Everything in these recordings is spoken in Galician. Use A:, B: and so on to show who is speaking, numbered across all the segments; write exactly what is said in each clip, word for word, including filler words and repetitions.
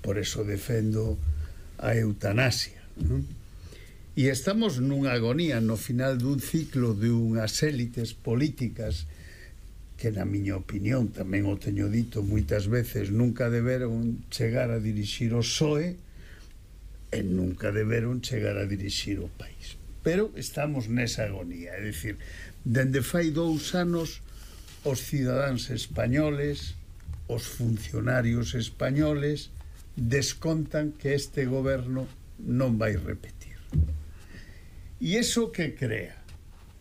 A: Por eso defendo a eutanasia. E estamos nunha agonía no final dun ciclo de unhas élites políticas que, na miña opinión, tamén o teño dito moitas veces, nunca deberon chegar a dirixir o P S O E e nunca deberon chegar a dirixir o país. Pero estamos nesa agonía, é dicir, dende fai dous anos os cidadáns españoles, os funcionarios españoles descontan que este goberno non vai repetir. E iso que crea?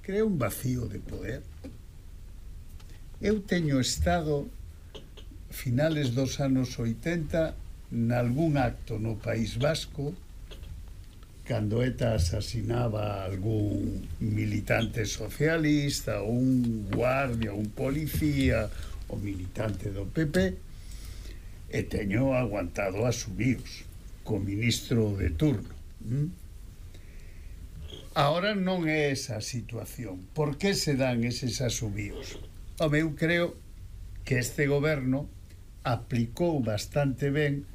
A: Crea un vacío de poder. Eu teño estado finales dos anos oitenta nalgún acto no País Vasco cando ETA asasinaba algún militante socialista, ou un guardia, un policía, o militante do P P, e teño aguantado asubíos co ministro de turno. Ahora non é esa a situación. Por que se dan eses asubíos? Home, eu creo que este goberno aplicou bastante ben,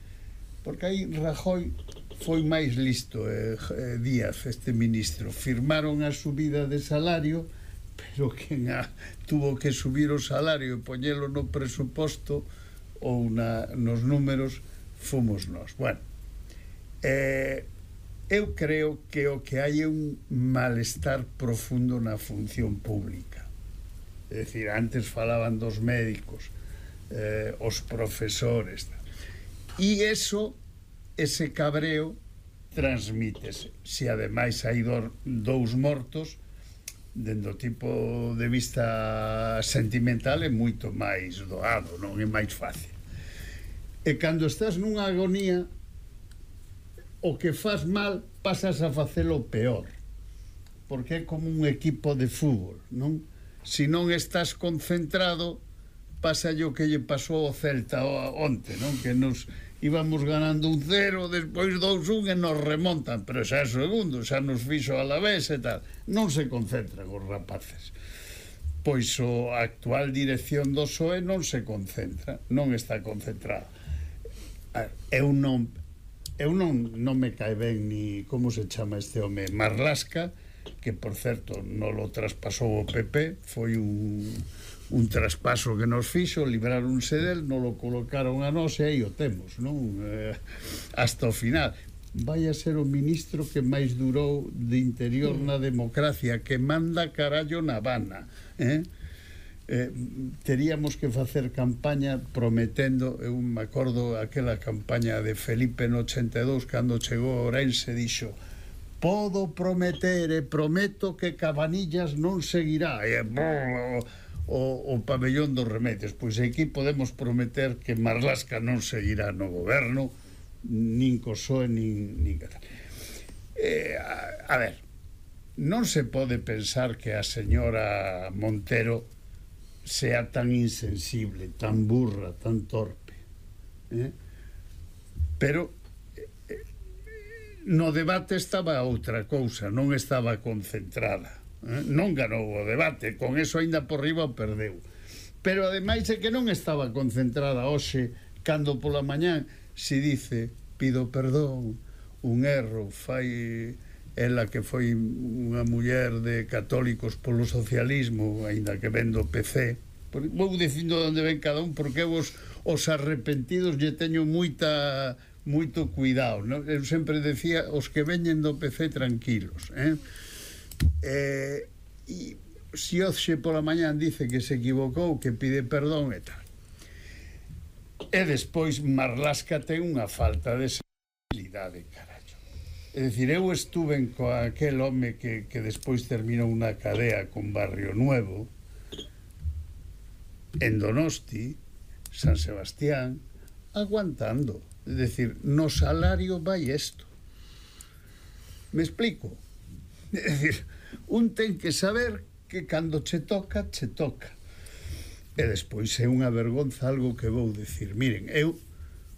A: porque aí Rajoy foi máis listo, eh, Díaz, este ministro. Firmaron a subida de salario, pero quen a, tuvo que subir o salario e poñelo no presuposto ou na, nos números fomos nós. Bueno, eh, eu creo que o que hai é un malestar profundo na función pública. É dicir, antes falaban dos médicos, eh, os profesores, e eso, ese cabreo transmítese. Se ademais hai do, dous mortos, dende o tipo de vista sentimental é moito máis doado, non é máis fácil. E cando estás nunha agonía, o que faz mal pasas a facelo peor, porque é como un equipo de fútbol, non? Se non estás concentrado, pasa o que lle pasou ao Celta onte, non? Que nos íbamos ganando un cero, despois dous un e nos remontan, pero xa é segundo, xa nos fixo a la vez e tal. Non se concentran os rapaces. Pois a actual dirección do P S O E non se concentra, non está concentrada. Eu non eu non, non me cae ben ni como se chama este home, Marlaska, que por certo non lo traspasou o P P, foi un, un traspaso que nos fixo, libraronse del, non lo colocaron a nós e aí o temos, non? Eh, hasta o final. Vai a ser o ministro que máis durou de interior na democracia, que manda carallo na Habana, eh? Eh, teríamos que facer campaña prometendo, eu me acordo aquela campaña de Felipe no ochenta e dous, cando chegou a Ourense, dixo: podo prometer e prometo que Cabanillas non seguirá, e o, o, o pabellón dos remedios. Pois aquí podemos prometer que Marlaska non seguirá no goberno, nin co P S O E, nin, nin eh, a, a ver, non se pode pensar que a señora Montero sea tan insensible, tan burra, tan torpe, eh? Pero eh, no debate estaba outra cousa, non estaba concentrada, eh? Non ganou o debate, con eso aínda por riba o perdeu, pero ademais é que non estaba concentrada hoxe, cando pola mañán se dice: pido perdón, un erro, fai ela que foi unha muller de católicos polo socialismo, aínda que ven do P C. Vou dicindo onde ven cada un, porque eu os, os arrepentidos lle teño moita moito cuidado, non? Eu sempre decía, os que veñen do P C tranquilos, eh? Eh, e se hoxe pola mañán dice que se equivocou, que pide perdón e tal, e despois Marlaska ten unha falta de sensibilidade, carallo. É dicir, eu estuve con aquel home que, que despois terminou na cadea con Barrio Nuevo, en Donosti, San Sebastián, aguantando. É dicir, no salario vai isto. Me explico? É dicir, un ten que saber que cando che toca, che toca. E despois é unha vergonza algo que vou dicir. Miren, eu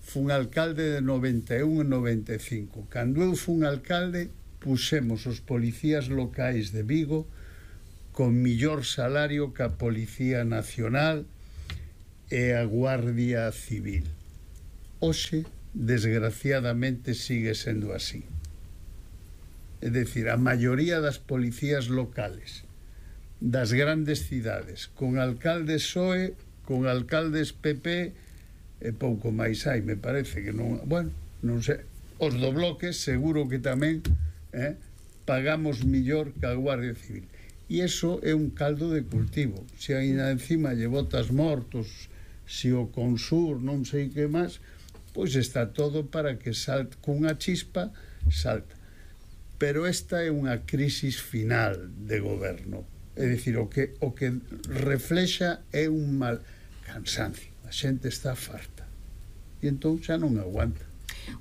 A: fun alcalde de noventa e un e noventa e cinco. Cando eu fun alcalde, puxemos os policías locais de Vigo con millor salario que a Policía Nacional e a Guardia Civil. Hoxe desgraciadamente sigue sendo así. É dicir, a maioría das policías locales das grandes cidades, con alcaldes P S O E, con alcaldes P P, e pouco máis hai, me parece que non, bueno, non sei, os do bloque seguro que tamén eh, pagamos millor que a Guardia Civil, e iso é un caldo de cultivo. Se ainda encima lle botas mortos, se o Consur non sei que máis, pois está todo para que salte cunha chispa, salta. Pero esta é unha crisis final de goberno. É dicir, o que, o que reflexa é un mal cansancio. A xente está farta. E entón xa non aguanta.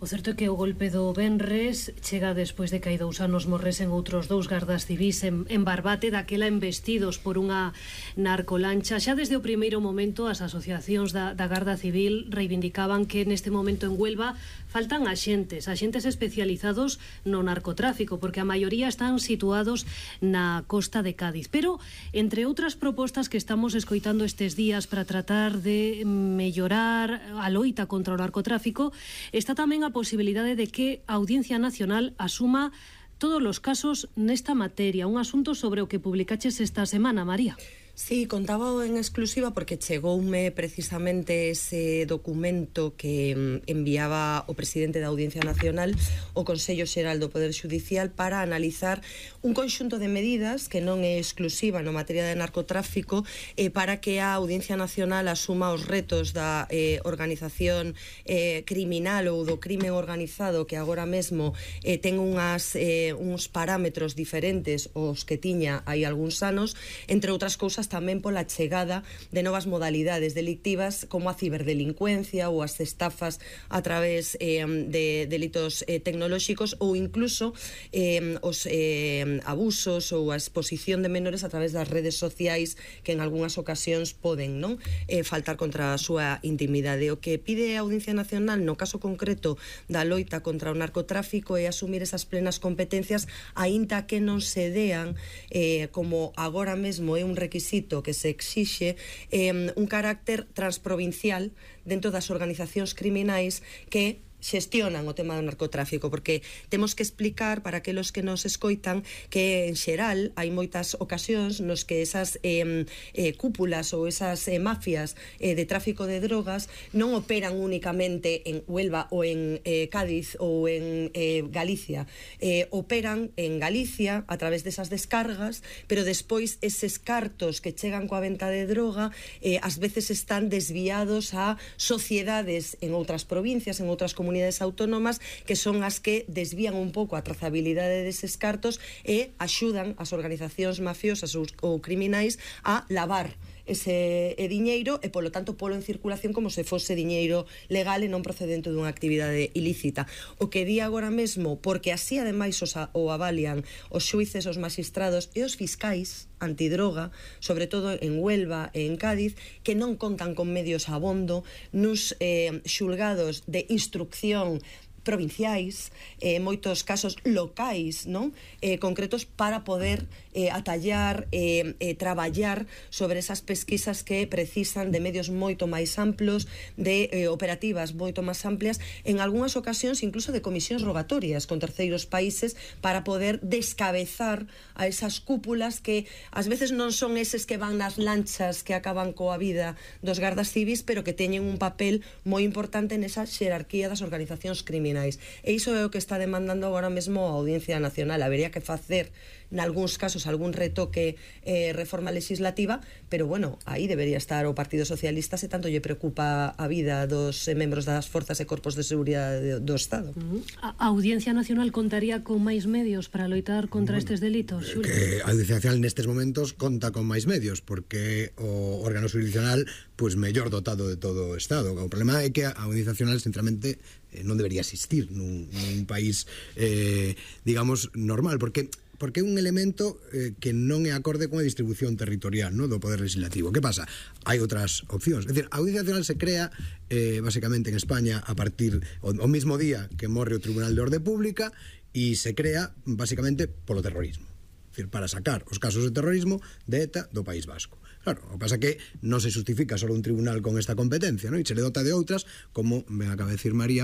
B: O certo é que o golpe do venres chega despois de que hai dous anos morresen outros dous gardas civís en, en Barbate, daquela embestidos por unha narcolancha. Xa desde o primeiro momento as asociacións da, da Garda Civil reivindicaban que neste momento en Huelva faltan axentes, axentes especializados no narcotráfico, porque a maioría están situados na costa de Cádiz. Pero, entre outras propostas que estamos escoitando estes días para tratar de mellorar a loita contra o narcotráfico, está tamén a posibilidade de que a Audiencia Nacional asuma todos os casos nesta materia, un asunto sobre o que publicaches esta semana, María.
C: Sí, contaba en exclusiva porque chegoume precisamente ese documento que enviaba o presidente da Audiencia Nacional ao Consello Xeral do Poder Xudicial para analizar un conxunto de medidas que non é exclusiva no materia de narcotráfico eh, para que a Audiencia Nacional asuma os retos da eh, organización eh, criminal ou do crimen organizado que agora mesmo eh, ten unhas, eh, uns parámetros diferentes aos que tiña hai algúns anos, entre outras cousas tamén pola chegada de novas modalidades delictivas como a ciberdelincuencia ou as estafas a través eh, de delitos eh, tecnolóxicos ou incluso eh, os eh, abusos ou a exposición de menores a través das redes sociais que en algunhas ocasións poden non eh, faltar contra a súa intimidade. O que pide a Audiencia Nacional no caso concreto da loita contra o narcotráfico é asumir esas plenas competencias aínda que non se dean eh, como agora mesmo é un requisito que se exixe eh, un carácter transprovincial dentro das organizacións criminais que xestionan o tema do narcotráfico, porque temos que explicar para aqueles que nos escoitan que en xeral hai moitas ocasións nos que esas eh, eh, cúpulas ou esas eh, mafias eh, de tráfico de drogas non operan únicamente en Huelva ou en eh, Cádiz ou en eh, Galicia, eh, operan en Galicia a través desas descargas, pero despois eses cartos que chegan coa venta de droga eh, ás veces están desviados a sociedades en outras provincias, en outras comunidades autónomas, que son as que desvían un pouco a trazabilidade deses cartos e axudan as organizacións mafiosas ou criminais a lavar ese diñeiro e, polo tanto, polo en circulación como se fose diñeiro legal e non procedente dunha actividade ilícita. O que di agora mesmo, porque así ademais os a, o avalian os xuíces, os magistrados e os fiscais antidroga, sobre todo en Huelva e en Cádiz, que non contan con medios abondo nos eh, xulgados de instrucción provinciais, eh, moitos casos locais, non? Eh, concretos para poder eh, atallar, eh, eh, traballar sobre esas pesquisas que precisan de medios moito máis amplos, de eh, operativas moito máis amplias, en algunhas ocasións incluso de comisións rogatorias con terceiros países para poder descabezar a esas cúpulas que ás veces non son eses que van nas lanchas que acaban coa vida dos gardas civis, pero que teñen un papel moi importante nesa xerarquía das organizacións criminais. E iso é o que está demandando agora mesmo a Audiencia Nacional. Habería que facer, nalgúns casos, algún retoque eh, reforma legislativa, pero, bueno, aí debería estar o Partido Socialista se tanto lle preocupa a vida dos eh, membros das forzas e corpos de seguridade do Estado.
B: Uh-huh. A Audiencia Nacional contaría con máis medios para loitar contra bueno, estes delitos, Xulio?
D: Que a Audiencia Nacional nestes momentos conta con máis medios, porque o órgano jurisdiccional pois mellor dotado de todo o Estado. O problema é que a Audiencia Nacional, sinceramente, non debería existir nun, nun país eh, digamos normal, porque porque é un elemento eh, que non é acorde con a distribución territorial, no, do poder legislativo. Que pasa? Hai outras opcións. É dicir, a Audiencia Nacional se crea eh, basicamente en España a partir o, o mismo día que morre o Tribunal de Orde Pública, e se crea basicamente polo terrorismo. É dicir, para sacar os casos de terrorismo de ETA do País Vasco. Claro, o que pasa é que non se justifica só un tribunal con esta competencia, non? E se le dota de outras, como me acaba de decir María,